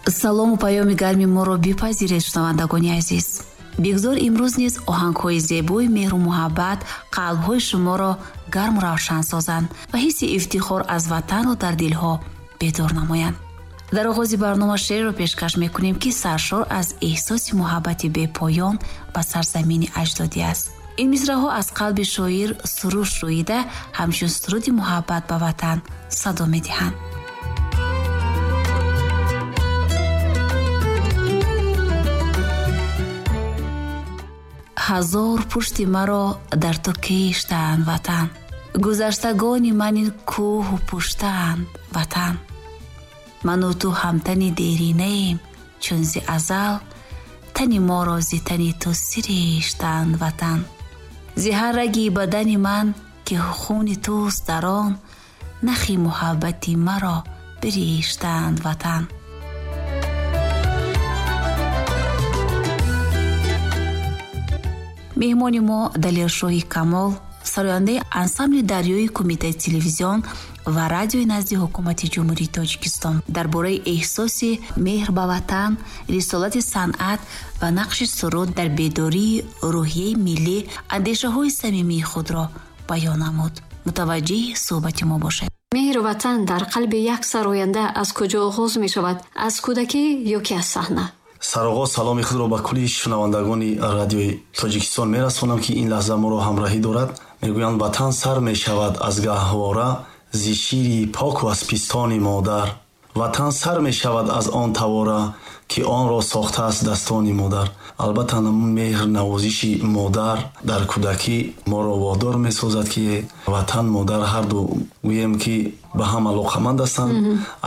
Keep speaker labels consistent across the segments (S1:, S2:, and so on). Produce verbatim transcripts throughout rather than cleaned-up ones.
S1: Салому паёми гарми моро бипазиред, шунавандагони азиз. Бигзор имрӯз низ оҳангҳои зебои меҳру муҳаббат қалбҳои шуморо гарму равшан созанд ва ҳисси ифтихор аз ватанро дар дилҳо бедор намоянд. Дар оғози барнома шеърро пешкаш мекунем, ки саршор аз эҳсоси муҳаббати бепоён ба сарзамини аҷдодӣ аст. Ин мисраҳо аз қалби шоир суруш рӯида ҳамчун суруди муҳаббат ба ватан садо медиҳанд. Ҳазор пушти маро дар ту киштаанд ватан, гузаштагони ман ин кӯҳу пуштаанд ватан. Ману ту ҳамтани деринаем, чун зи азал тани моро зи тани ту сириштаанд ватан. Зи ҳар раги бадани ман ки хуни туст дар он, нахи муҳаббати маро бириштаанд ватан. Меҳмони мо Далершоҳи Камол, сарояндаи ансамбли дарёи Кумитаи телевизион ва радиои назди ҳукумати Ҷумҳурии Тоҷикистон, дар бораи эҳсоси меҳр ба ватан, рисолати санъат ва нақши суруд дар бедории рӯҳияи миллӣ андешаҳои самимии худро баён намуд. Мутаваҷҷеҳи суҳбати мо бошед.
S2: Меҳру ватан дар қалби як сароянда аз куҷо оғоз мешавад? Аз кӯдакӣ ё ки аз саҳна?
S3: Сарогоз саломи худро ба кулли шунавандагони радиои Тоҷикистон мерасонам, ки ин лаҳза моро ҳамроҳӣ дорад. Мегӯянд, ватан сар мешавад аз гаҳвора, зи шири поку аз пистони модар. Ватан сар мешавад аз он тавора, ки онро сохтааст дастони модар. Албатта, меҳр навозиши модар дар кӯдакӣ моро водор месозад, ки ватан, модар ҳарду гӯем, ки ба ҳам алоқаманд ҳастанд.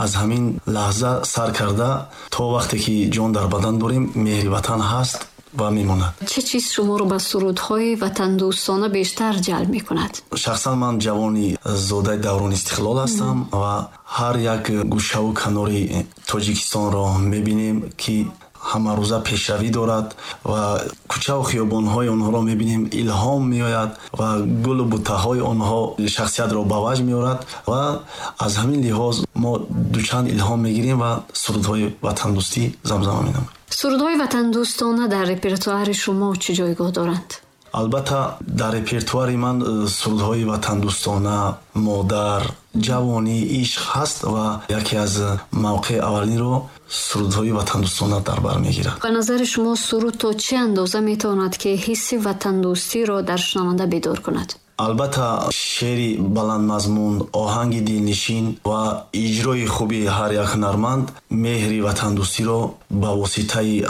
S3: Аз ҳамин лаҳза сар карда то вақте ки ҷон дар бадан дорем, меҳри ватан ҳаст ва мемонад.
S2: Чӣ чиз шуморо ба сурудҳои ватандӯстона бештар ҷалб мекунад?
S3: Шахсан ман ҷавони зодаи даврони истиқлол ҳастам ва ҳар як гӯшаву канори Тоҷикистонро мебинем, ки ҳамарӯза пешравӣ дорад ва кӯчаву хиёбонҳои онҳоро мебинем, илҳом меояд ва гулу буттаҳои онҳо шахсиятро ба ваҷд меорад ва аз ҳамин лиҳоз мо дучанд илҳом мегирем ва сурудҳои ватандӯстӣ замзама менамоем.
S2: Сурудҳои ватандӯстона дар репертуари шумо чӣ ҷойгоҳ доранд?
S3: Албатта, дар репертуари ман сурудҳои ватандӯстона, модар, ҷавонӣ, ишқ ҳаст ва яке аз мавқеи аввалинро сурудҳои ватандӯстона дар бар мегирад.
S2: Ба назари шумо суруд то чӣ андоза метавонад, ки ҳисси ватандӯстиро дар шунаванда бедор кунад?
S3: Албатта, шеъри баландмазмун, оҳанги дилнишин ва иҷрои хуби ҳар як ҳунарманд меҳри ватандӯстиро ба воситаи